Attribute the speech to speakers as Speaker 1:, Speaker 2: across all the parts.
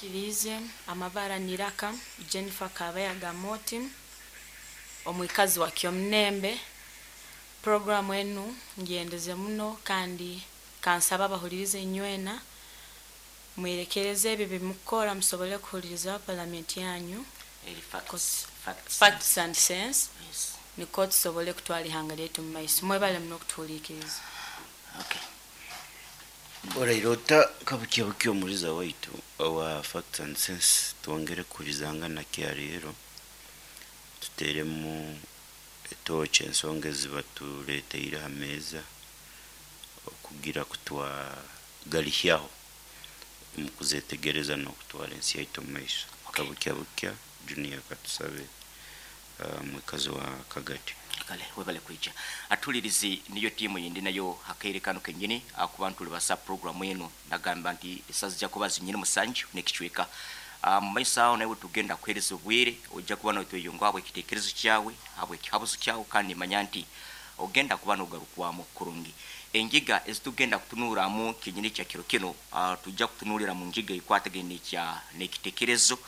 Speaker 1: Nyikiriize amabara niraka Jennifer Kabayaga Moti, omwikazi wa Kyomunembe. Programu enu ngyendeze muno kandi kansaba abahulirize inywena mwerekereze ebi bimukukora musobole kuhuliriza palamenti yanyu.
Speaker 2: Eri facts, facts,
Speaker 1: Facts and Sense.
Speaker 2: Yes.
Speaker 1: Nikwo tusobole kutwara ihanga lyaitu mu maiso. Mwebale muno okutuhuliikiriza.
Speaker 2: Okay.
Speaker 3: Oraire ota kabukya bukya omuliza waitu owa Facts and Sense, twongere kuhurizangana kya leero, tuteremu etoochi ensonga ezibatuleteire ha meeza okugira kutwagalihyaho omu kuzetegereza n'okutwara ensi yaitu omu maiso. Kabukya bukya Junior, katusabe mwikazi wa Kagadi.
Speaker 2: Kale, webale kwija. Atulirizi niyo tiimu yindi nayo hakaire kano kenyini akuba ntulibasa programu eno nagamba nti esazi kuba zinyini 7 n'ekicweka. Mu maiso aho nawe tugenda kuhereza obwire, ojja kuba notweyonga habwe ekitekerezo kyawe, habwe ekihabuzo kyawe, kandi manya nti ogenda kuba nogarukwamu kurungi. Engiga ezitugenda kutunuramu kenyini kya kiro kino, tujja kutunulira mu ngiga ekwatagene kya n'ekitekerezo,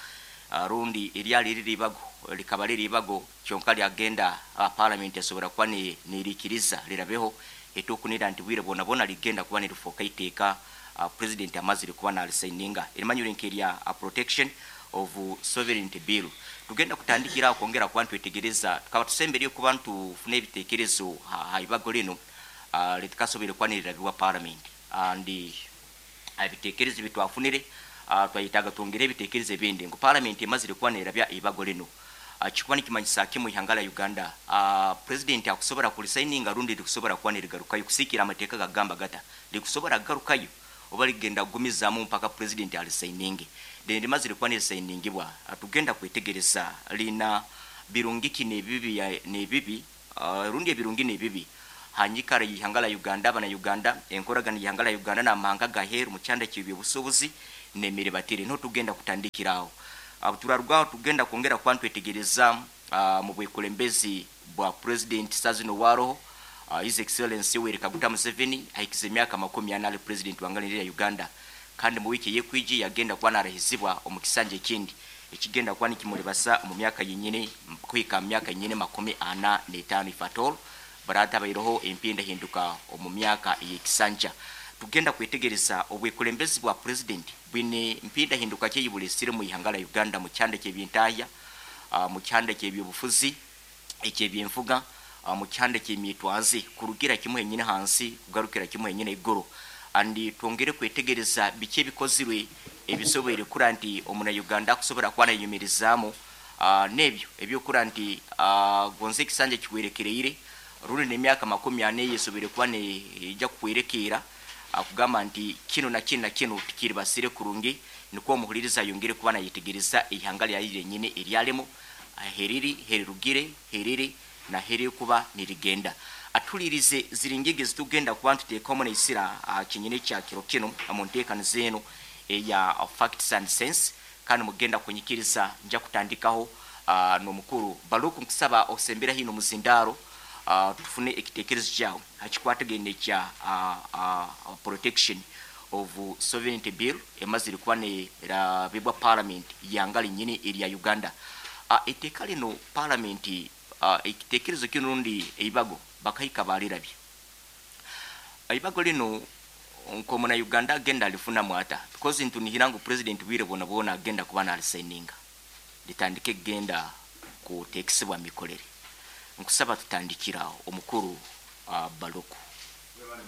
Speaker 2: rundi eryali riri ibago likaba riri ibago kyonka lyagenda parliament esobora kuba nirikiriza lirabeho etukunira nti bwire bwona bwona ligenda kuba nirifoka iteeka, president amazire kuba nalisaininga erimanyire nkerya Protection of Sovereignty Bill. Tugenda kutandikira kwongera kuba ntwetegereza tukaba tusembereye kuba ntufuna ebitekerezo ha ibago lino litikasobire kuba nirirabibwa parliament, and ebitekerezo bitwafunire twayitaga twongere ebitekerezo ebindi ngu parliament emazire kuba nerabya ibago lino, kikuba nikimanyisa kimu ihanga la Uganda, president akusobora kulisaininga rundi likusobora kuba nirigarukayo kusikira amateeka gagamba gata likusobora kugarukayo oba ligenda kugumizamu mpaka president alisaininge. Then limazire kuba nirisainingibwa, tugenda kwetegereza lina birungi ki nebibi, rundi ebirungi nebibi hanyikara y'ihanga la Uganda, abana Uganda, enkoragana y'ihanga la Uganda n'amahanga gaheru mu kyanda ky'ebyobusuubuzi n'emiribatire. Niho tugenda kutandikiraho. Turarugwaho tugenda kwongera kuba ntwetegereza mu bwekulembezi bwa president sazino waroho, His Excellency Yoweri Kaguta Museveni, ahikize emyaka 40 ali president wa ngalo ya Uganda, kandi mu wiki yekwiji yagenda kuba narahizibwa omu kisanja ekindi ekigenda kuba nikimulibasa mu myaka yenyine kuhika mu myaka yenyine 45, if at all barata bairoho empinda hinduka omu myaka y'ekisanja. Tugenda kwetegereza obwekulembezi bwa president bwine mpinda hinduka kyeyibulesire mu ihanga la Uganda mu kyanda ky'ebyentahya, mu kyanda ky'ebyobufuzi, eky'ebyenfuga, mu kyanda ky'emyetwaze, kurugira kimwe henyine hansi kugarukira kimwe henyine iguru. Andi twongere kwetegereza biki ebikozirwe ebisoboire kura nti omuna Uganda akusobora kuba nayeyumirizaamu, n'ebyo ebyokura nti gonze ekisanja kiwerekereire rundi n'emyaka 40 eyesoboire kuba neija kuhwerekeera, akugamba nti kino na kino na kino tikiribasire kurungi, nikwo omuhuliriza ayongere kuba nayetegereza ihanga lyaye lyenyine eryalemu, heriri, herirugire, heriri na heriri kuba nirigenda. Atulirize ziri ngigi zitugenda kuba ntuteekamu neisira kinyine kya kiro kino mu nteekaniza eno eya Facts and Sense, kandi mugenda kunyikiriza nja kutandikaho n'omukuru Baluku. Nkusaba osembera hino muzindaro, tufune ekitekerezo kyawe hakikwatagene kya Protection of Sovereignty Bill emazire kuba nerabibwa parliament yanga linyini erya Uganda. Etteeka lino parliament, ekitekerezo kino rundi eibago bakahika balirabye eibago lino nkomuna Uganda agenda alifunamu ata? Because ntunihira ngu president bwire bwona bwona agenda kuba nalisaininga litandike kugenda kutekesebwa mikorere. Nkusaba tutandikiraho omukuru Baluku.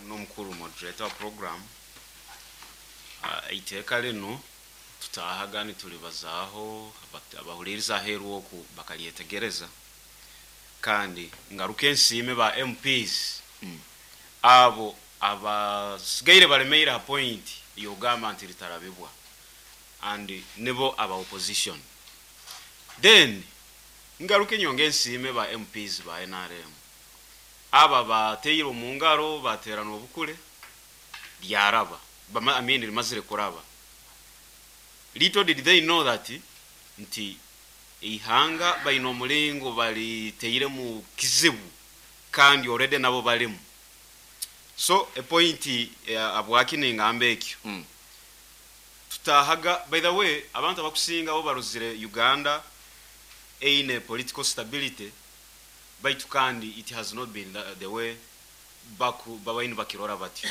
Speaker 4: N'omukuru moderator wa program, iteeka lino tutahaga nitulibazaaho, abahuliriza aheeru oku bakalyetegereza, kandi ngaruka ensiime ba MPs abo abasigaire balemeire ha point yogamba nti litarabibwa, and nibo aba opposition. Then ngaruka enyonga ensiime ba MPs ba NRM aba bateire omu ngaro baterana obukule lyaraba. I mean, limazire kuraba. Little did they know that nti ihanga baina omulingo baliteire mu kizibu, kandi already nabo balimu. So a point abwaki ningamba ekyo, Tutahaga, by the way, abantu abakusinga bo barozire Uganda eine political stability, baitu kandi it has not been the way baku babaini bakirora batyo.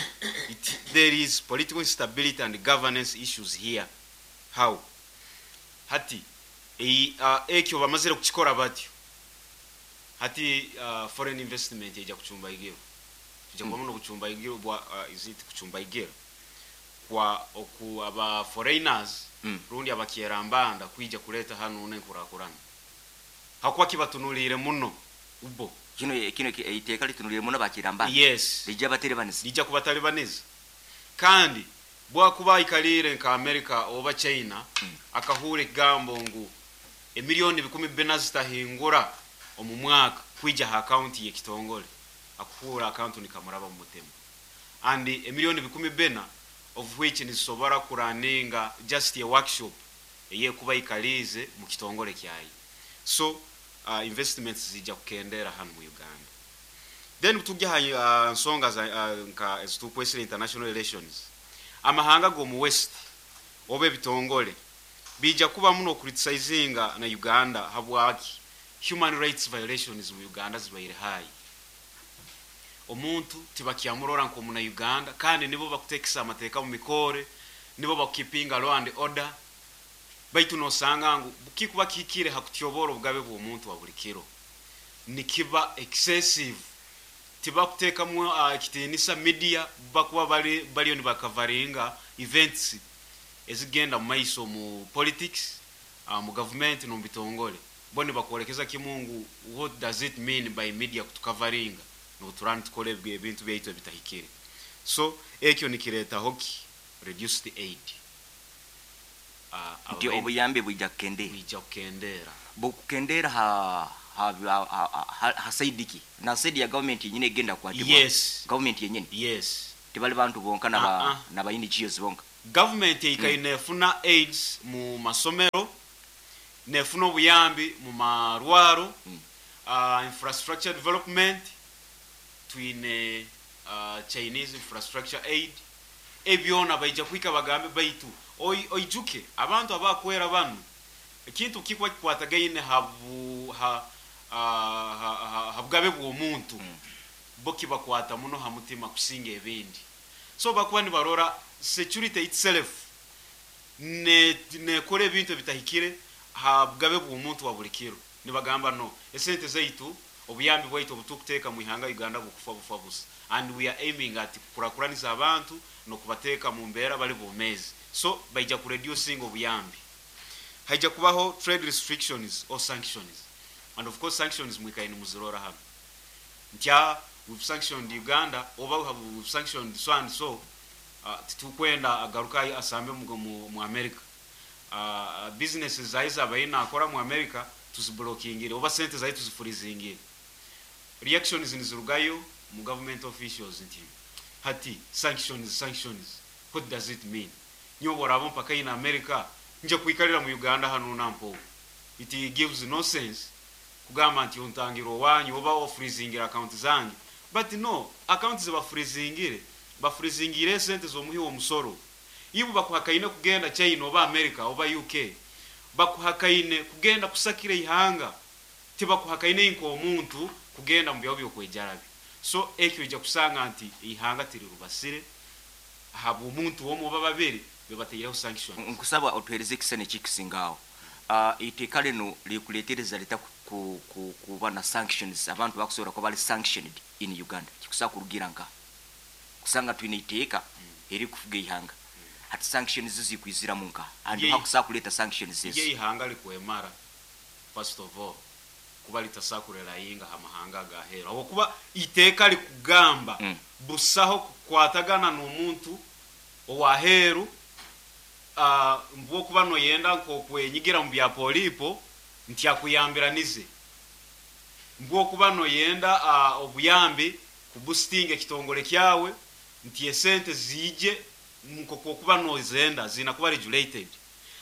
Speaker 4: There is political instability and governance issues here. How hati ekyo bamazire kukikora batyo, hati foreign investment ejja kucumba igiro, tujja kubamu n'okucumba igiro bwa is it kucumba igiro kwa oku aba foreigners rundi abakyerambanda kwija kuleta hano n'enkurakurana, hakuba kibatunulire muno ubo.
Speaker 2: Kino iteeka litunulire muno bakiramba?
Speaker 4: Yes.
Speaker 2: Lijja baterebaniza?
Speaker 4: Lijja kubatalibaniza, kandi bwakuba aikalire nka America oba China, akahuura ekigambo ngu emiliyoni 4,000 zitahingura omu mwaka kwija ha akaunti y'ekitongole, akuhuura akantu nikamuraba mu mutima. And emiliyoni 4,000 of which nizisobora kuraninga just a workshop eyekuba ikalize mu kitongole kyayi. So investments zijja kukendera hano mu Uganda. Then tujja ha nsonga za nka ezitukwesire international relations, amahanga g'omu West oba ebitongole bijja kuba muno criticizinga na Uganda. Habwaki? Human rights violations mu Uganda zibaire high. Omuntu tibakyamurora nk'omuna Uganda, kandi nibo bakutekesa amateeka mu mikore, nibo bakukipinga law and order. Baitu nosanga ngu kikuba kihikire hakutyobora obugabe bw'omuntu wa buli kiro, nikiba excessive. Tibakuteekamu ekitiinisa media, bakuba bali baliyo nibakavaringa events ezigenda mu maiso mu politics, mu government n'omu bitongole. Bo nibakwolekeza kimu ngu what does it mean by media kutukavaringa nobuturani tukora ebintu byaitu ebitahikire? So ekyo nikireetaho ki? Reduced aid.
Speaker 2: Nti obuyambi bwijja kukendera?
Speaker 4: Bwijja kukendera.
Speaker 2: Bukukendera ha side ki? Na side ya government yenyine egenda kukwatibwa?
Speaker 4: Yes.
Speaker 2: Government yenyine?
Speaker 4: Yes.
Speaker 2: Tibali bantu bonka naba
Speaker 4: Ah, ah.
Speaker 2: naba NGOs bonka?
Speaker 4: Government eikaire nefuna aids mu masomero, nefuna obuyambi mu marwaro, infrastructure development, twine Chinese infrastructure aid. Ebyona baija kwika bagambe, baitu oijuke abantu abakwera banu, ekintu kikuba kikwatagaine ha bugabe bw'omuntu, bo kibakwata muno ha mutima kusinga ebindi. So bakuba nibarora security itself nekora ebintu ebitahikire ha bugabe bw'omuntu wa buli kiro, nibagamba no, esente zaitu, obuyambi bwaitu obutukuteeka mu ihanga Uganda bukufa bufa busa, and we are aiming at kukurakuraniza abantu n'okubateeka mu mbeera bali bomeezi. So baija kureducing obuyambi. Haija kubaho trade restrictions or sanctions, and of course sanctions mwikaine muzirora hano ntya we've sanctioned Uganda oba we've sanctioned so and so, titukwenda agaruka asambe mu America, businesses zayi zabaye nakora mu America tuziblokingire, oba sente zayi tuzifreezingire. Reactions nizirugayo mu government officials nti hati sanctions, sanctions, what does it mean? Nyowe boraba mpaka in America, nje kwikalira mu Uganda hano nampo? It gives no sense kugamba nti ontangira owanyu oba ofreezingira account zange. But no, account zebafreezingire, bafreezingire sente z'omuhi w'omusoro. Ibu bakuhakaine kugenda China oba America oba UK, bakuhakaine kugenda kusakira ihanga, tibakuhakaine nk'omuntu kugenda mu byago byokwejarabi. So ekyo ija kusanga nti ihanga tirirubasire habw'omuntu omwe oba babiri bebateireho sanction.
Speaker 2: Nkusaba otuhereze ekisane kikisingaawo. Iteeka lino likuletereza lita kuba na sanctions, abantu bakusobola kuba bali sanctioned in Uganda? Kikusobola kurugira nka kusanga twine iteeka erikufuga ihanga, hati sanctions zikwiziramu nka and hakusobola kuleeta sanctions ezo?
Speaker 4: Ye ihanga likwemara, first of all, kuba litasakurerayinga ha mahanga agahera, habwokuba iteeka likugamba busaho kukwatagana n'omuntu owaheru, mbwokuba noyenda nk'okwenyigira mu bya polipo nti akuyambiranize, mbwokuba noyenda obuyambi kuboostinga ekitongole kyawe nti esente ziije nk'okwokuba nozenda zina kuba regulated.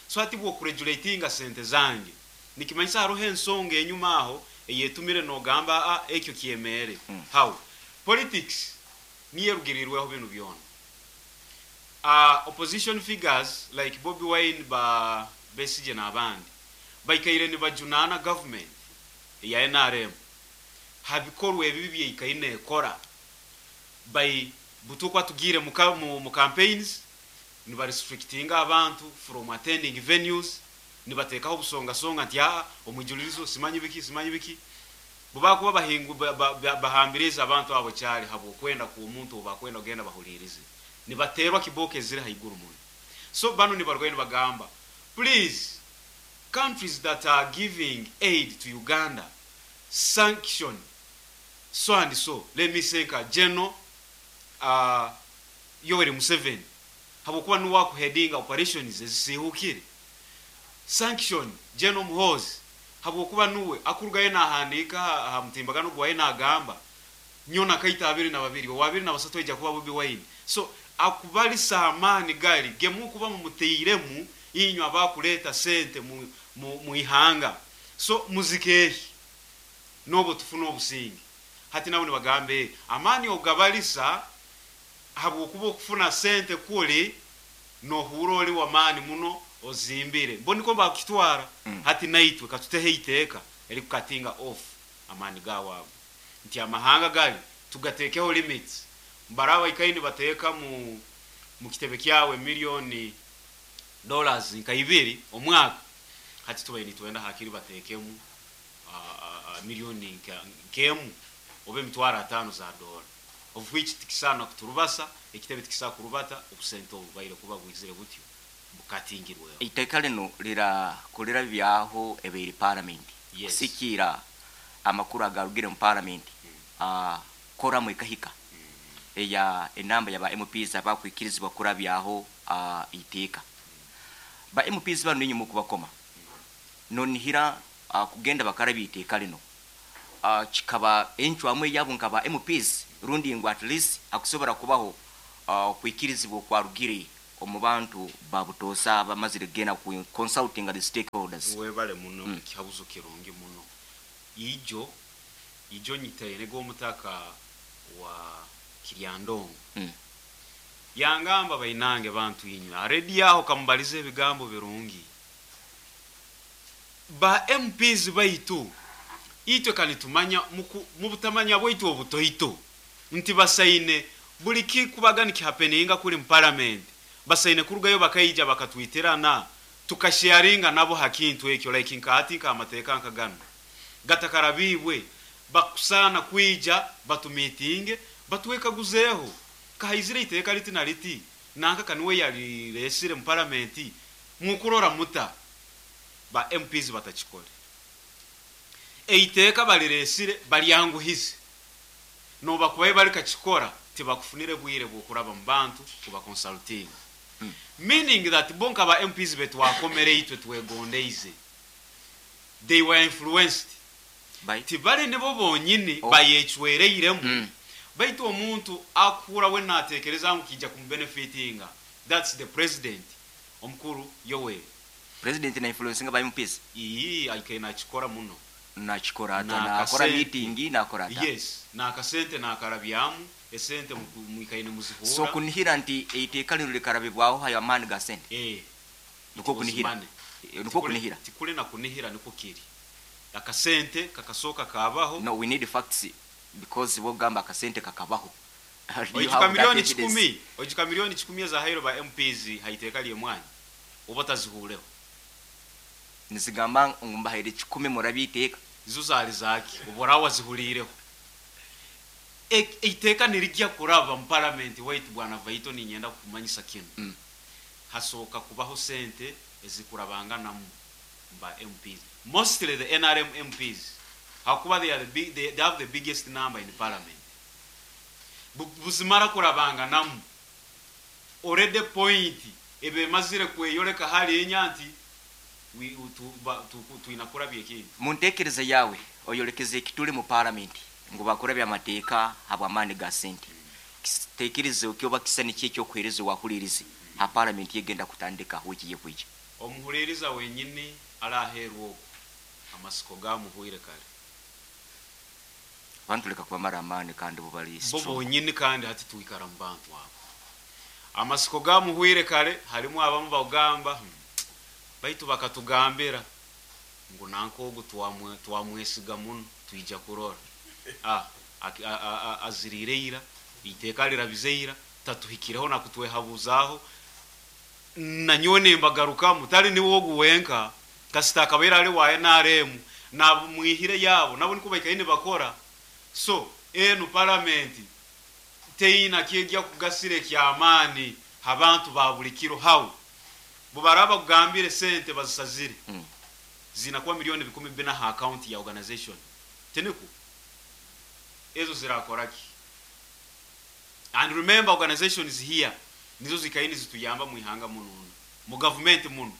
Speaker 4: So hati bwokuregulatinga sente zange, nikimanyisa hariho ensonga enyuma aho eyetumire nogamba ekyo kyemere. How politics niyo erugirirweho binu byona. Opposition figures like Bobi Wine, ba Besigye n'abandi baikaire nibajunaana government eya NRM ha bikorwa ebibi byeikaine ekora by butukwa tugire mu campaigns, nibarestrictinga abantu from attending venues, nibateekaho obusongasonga nti omwijulirizo simanyi biki simanyi biki, bubakuba bahingu bahambiriza abantu abo kyali habwokwenda ku omuntu obakwenda ogenda bahulirize, nibaterwa kiboke eziri haiguru muno. So bano nibarwaye nibagamba, please, countries that are giving aid to Uganda, sanction so and so, let me say nka General Yoweri Museveni, habwokuba nuwe akuheadinga operations ezisihukire, sanction General Muhoozi, habwokuba nuwe akurugayo nahandiika ha mutimbagano gwaye nagamba nyona kaita 22 owa 23 ejja kuba Bobi Wine. So akubalisa amaani gali gemukuba mumuteiremu inywe abakuleeta sente mu ihanga, so muzikeehi nobo tufuna obusinge. Hati nabo nibagambe amaani ogabalisa habwokuba okufuna sente kuli nohura oli wamaani muno ozimbire mbo niko bakitwara. Hati naitwe katutehe iteeka erikukatinga off amaani gawaabo nti amahanga gali tugateekeho limits, mbaraba ikaini bateeka mu kitebe kyawe miliyoni dollars nka 2 omwaka, hati tubaye nitwenda hakiri bateekemu miliyoni nkemu oba 500,000 za dola, of which tikisana kuturubasa ekitebe tikisa kurubata obusente obubaire kuba bwizire butyo bukatingirweho.
Speaker 2: Iteeka lino lira kulira byaho ebeiri parliament.
Speaker 4: Yes.
Speaker 2: Kusikira amakuru agarugire mu parliament, koramu ekahika eya enamba yaba MPs abakwikirizibwa kurabyaho iteeka. Ba MPs bano ninyi mukubakoma nonihira kugenda bakarabya iteeka lino, kikaba encwamu yabo nkaba MPs rundi ngu at least akusobora kubaho kwikirizibwa kwarugire omu bantu babutosa bamazire gena ku consulting the stakeholders.
Speaker 4: Webale muno, kihabuzo kirungi muno. Ijo nyitaire gomutaka wa Kiryandongo. Yangamba bainange bantu inywe aredi yaho kamubalize ebigambo birungi ba MPs baitu itwe kanitumanya mubutamanya bwaitu obutoito nti basaine buli kikubaga nikihapeninga kuli mu parliament, basaine kurugayo bakaija bakatwitirana tukasharinga nabo hakintu ekyo, like nkati nka amateeka nkagano gatakarabibwe bakusana kwija batumitinge batuwekaguzeho kahaizire iteeka liti na liti nanka kanuwe yaliresire mu parliament mukurora muta ba MPs batachikole eiteeka baliresire balyanguhize no bakubaye bali kachikora tibakufunire bwire bwokuraba mu bantu kuba consulting. Meaning that bonka ba MPs betwakomere itwe twegondeize, they were influenced
Speaker 2: by
Speaker 4: tibale nibo bonyini bayechwereiremu. Baitu omuntu akura we natekereza ngu kijja kumubenefitinga, that's the president omukuru Yoweri.
Speaker 2: President na influencinga ba MPs
Speaker 4: iyi aike nachikora muno
Speaker 2: nachikora ata nakora meeting nakora ata.
Speaker 4: Yes, nakasente nakarabyamu esente muikaine muzihura.
Speaker 2: So kunihira nti eiteeka lino likarabibwaho hayo amaani ga sente. Niko kunihira. Niko kunihira.
Speaker 4: Tikule na kunihira niko kiri. Akasente kakasoka kabaho.
Speaker 2: No, we need facts because wogamba akasente kakabaho.
Speaker 4: Ojuka milioni 10, ojuka milioni 10 za hairo ba MPs haiteeka lye mwanya oba tazihuleho.
Speaker 2: Nizigamba ngumbahaire 10 murabiteeka.
Speaker 4: Izo zali zaki obora wazihulireho. Eiteeka nirijya kuraba mu parliament waitu bwana Vaito ninyenda kumanyisa kino. Hasoka kubaho sente ezikurabanga namu ba MPs, mostly the NRM MPs, hakuba they are the big, they have the biggest number in the parliament. Buzimara kurabanga namu already point ebe mazire kweyoleka hali enyanti tuinakura byeki.
Speaker 2: Muntekereza yawe oyolekeze ekituli mu parliament ngo bakora bya mateeka habwamani ga sente, tekereza okyoba kisani kyekyo okwereza wahulirize ha parliament yegenda kutandika wiki yekwija.
Speaker 4: Omuhuliriza wenyini alaherwa okwo amasiko gamuhwire kale
Speaker 2: abantu leka kubamara amani kandi bubali
Speaker 4: bo bonyini kandi hati tuikara mu bantu abo. Amasiko gamuhwire kare, harimu abamu bagamba, baitu bakatugambira ngu nanka ogu twamwesiga muno, twija kurora. Aziriire ira, iteeka lirabize ira, tatuhikireho nakutwehabuzaho. Nanyowe nembagarukamu, tali niwe ogu wenka, kasita akabaire ali wa NRM, nabumwihire yabo, nabo niko baikaire nibakora. So, enu paramenti teina kyejja kugasira ekyamaani abantu ba buli kiro. Hau bubaraba kugambire sente bazisazire, zinakuba 400,000 ha account ya organization, tiniku ezo zirakoraki? And remember, organizations here nizo zikaini zituyamba mu ihanga muno, mu government muno.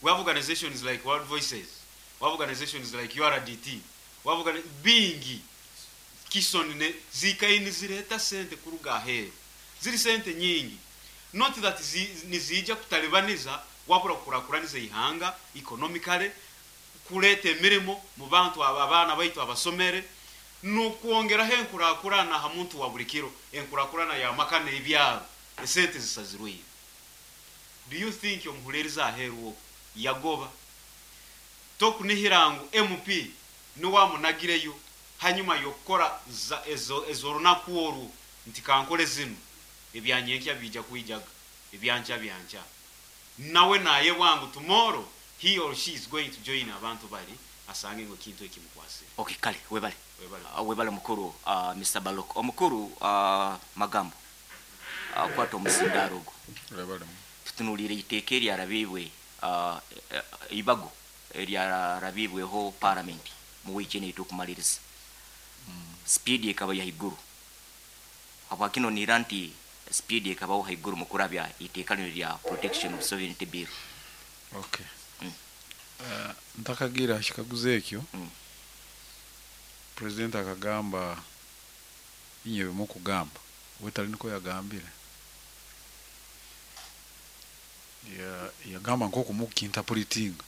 Speaker 4: We have organizations like World Voices, we have organizations like URDT, we have bingi Kison ne zikaini zireta sente kuruga aheru, ziri sente nyingi. Not that nizija kutalibaniza, wabura kukurakuraniza ihanga economically, kuleta emirimo mu bantu aba, abaana baitu abasomere, nukwongeraho enkurakurana ha muntu wa buli kiro, enkurakurana ya maka n'ebyaro. Esente zisazirweyo. Do you think omuhuliriza aheru okwo yagoba tokunihira ngu MP niwamunagireyo hanyuma yokukora ezo runaku orwo nti kankole zino, ebyanyenkya bija kwijaga, ebyankya byankya, nawe naye bwangu tomorrow he or she is going to join abantu bali asange ngo kintu ekimukwasire.
Speaker 2: Okay, kale webale.
Speaker 4: Webale.
Speaker 2: Webale mukuru, Mr. Balok omukuru, magambo, kwata omuzindaaro ogwo.
Speaker 5: Webale.
Speaker 2: Tutunuulire iteeka eryarabibwe, ibago eryarabibweho parliament mu wiiki eno etukumaliriza. Speed ekaba yaiguru. Habwakino nira nti speed ekabaho haiguru mu kurabya iteeka lino lya Protection of Sovereignty Bill?
Speaker 5: Okay. Ntakagira kikaguzo ekyo, president akagamba inye bimukugamba wetali niko yagambire. Yagamba nkoku mukinterpretinga.